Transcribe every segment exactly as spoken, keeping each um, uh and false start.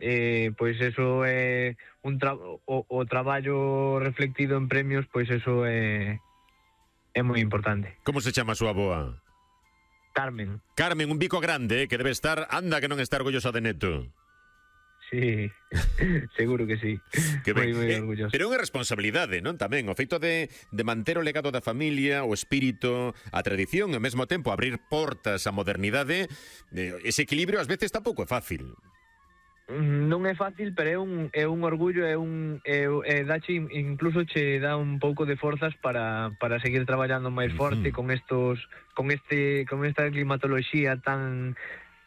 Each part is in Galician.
eh, pois eso é un tra o, o traballo reflectido en premios, pois eso é é moi importante. Como se chama a súa avoa? Carmen. Carmen, un bico grande, eh, que debe estar, anda que non está orgullosa de neto. Sí, seguro que sí. Que ben. Moi, moi eh, orgulloso. pero é unha responsabilidade, non? Tamén, o feito de, de manter o legado da familia, o espírito, a tradición, e ao mesmo tempo abrir portas á modernidade, eh, ese equilibrio ás veces tampouco é fácil. Non é fácil, pero é un, é un orgullo, é un é, é dache, incluso che dá un pouco de forzas para, para seguir traballando máis forte. Uh-huh. con estos con este con esta climatoloxía tan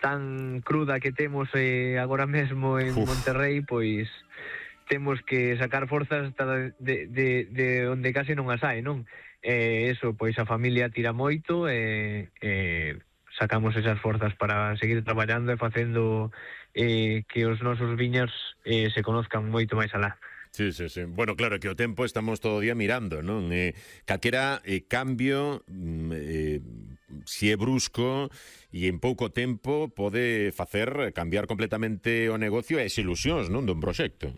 tan cruda que temos eh, agora mesmo en Uf. Monterrey, pois temos que sacar forzas hasta de, de, de onde case non as hai, non? Eh, eso, pois a familia tira moito e eh, eh, sacamos esas forzas para seguir traballando e facendo eh, que os nosos viños eh, se conozcan moito máis alá. Sí, sí, sí. Bueno, claro, que o tempo estamos todo o día mirando, non? Eh, calquera eh, cambio, eh, si é brusco e en pouco tempo pode facer cambiar completamente o negocio e as ilusións, non, dun proxecto.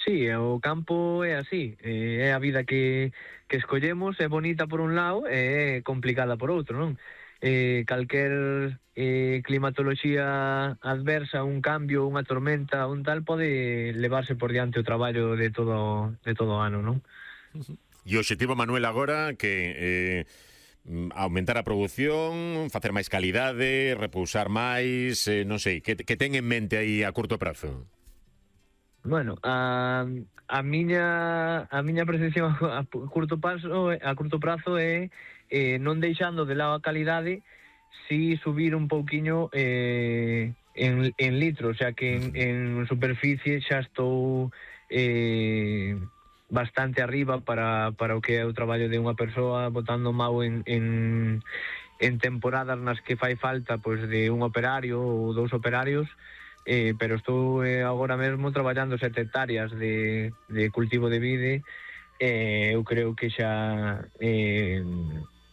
Sí, o campo é así, eh, é a vida que, que escollemos, é bonita por un lado e é complicada por outro, non? Eh, calquer eh, climatoloxía adversa, un cambio, unha tormenta, un tal, pode levarse por diante o traballo de todo de todo o ano, non? E o objetivo, Manuel, agora que eh, aumentar a produción, facer máis calidade, repousar máis, eh, non sei, que, que ten en mente aí a curto prazo? Bueno, a, a miña a miña percepción a curto prazo a curto prazo é eh, non deixando de lado a calidade, si subir un pouquiño eh, en, en litro, o sea que en, en superficie xa estou eh, bastante arriba para, para o que é o traballo de unha persoa, botando mau en, en, en temporadas nas que fai falta pois de un operario ou dous operarios. Eh, pero estou eh, agora mesmo traballando sete hectáreas de, de cultivo de vide. Eh, eu creo que xa eh,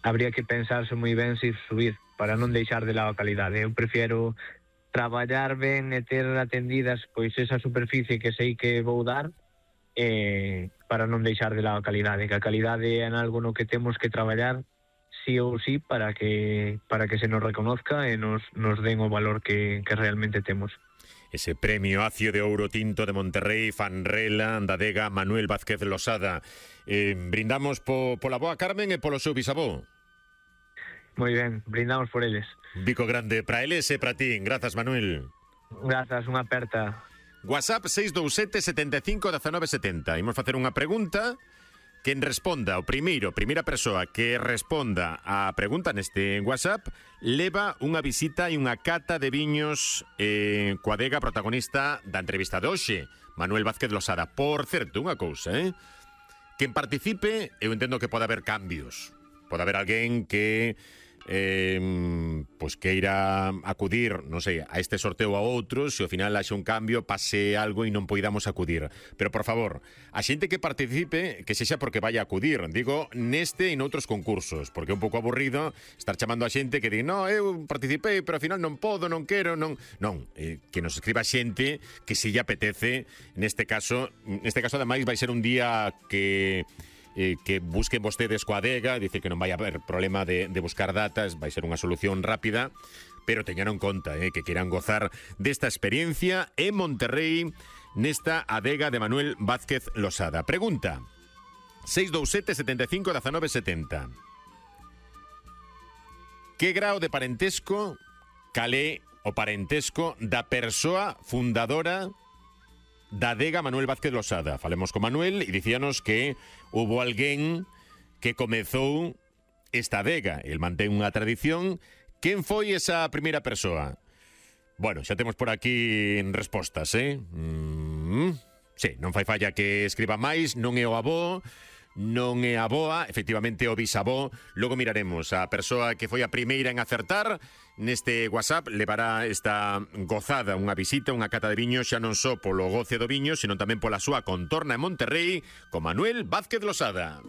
habría que pensarse moi ben se subir para non deixar de lado a calidade. Eu prefiero traballar ben e ter atendidas pois esa superficie que sei que vou dar, eh, para non deixar de lado a calidade, que a calidade é en algo no que temos que traballar sí ou sí para que para que se nos reconozca e nos, nos den o valor que, que realmente temos. Ese premio Acio de Ouro Tinto de Monterrey, Fanrela, da adega Manuel Vázquez Losada. Eh, brindamos po, pola boa Carmen e polo seu bisavó. Moi ben, brindamos por eles. Bico grande para eles e para ti. Grazas, Manuel. Grazas, unha aperta. WhatsApp seis dous sete, setenta e cinco, dezanove setenta. Imos facer unha pregunta. Quen responda, o primeiro, primeira persoa que responda a pregunta neste WhatsApp, leva unha visita e unha cata de viños eh, coa adega protagonista da entrevista de hoxe, Manuel Vázquez Losada. Por certo, unha cousa, eh? Quen participe, eu entendo que pode haber cambios. Pode haber alguén que eh, pois queira acudir, non sei, a este sorteo a outros, se ao final haxe un cambio, pase algo e non poidamos acudir. Pero, por favor, a xente que participe, que sexa porque vai a acudir, digo, neste e noutros concursos, porque é un pouco aburrido estar chamando a xente que di, no, eu participei, pero ao final non podo, non quero, non... Non, eh, que nos escriba xente que se lle apetece, neste caso, neste caso, ademais, vai ser un día que... Eh, que busquen vostedes coa adega, dice que non vai haber problema de, de buscar datas, vai ser unha solución rápida, pero teñan en conta eh, que queiran gozar desta experiencia en Monterrey, nesta adega de Manuel Vázquez Losada. Pregunta seis dous sete, setenta e cinco, dezanove setenta. Que grao de parentesco calé o parentesco da persoa fundadora da adega Manuel Vázquez Losada? Falemos con Manuel e dicíanos que hubo alguén que comezou esta adega. El mantén unha tradición. Quen foi esa primeira persoa? Bueno, xa temos por aquí respostas, eh? Mm, sí, non fai falla que escriba máis. Non é o avó, non é a boa, efectivamente o bisavó. Logo miraremos a persoa que foi a primeira en acertar. Neste WhatsApp levará esta gozada, unha visita, unha cata de viño, xa non só polo goce do viño, sino tamén pola súa contorna en Monterrey, con Manuel Vázquez Losada.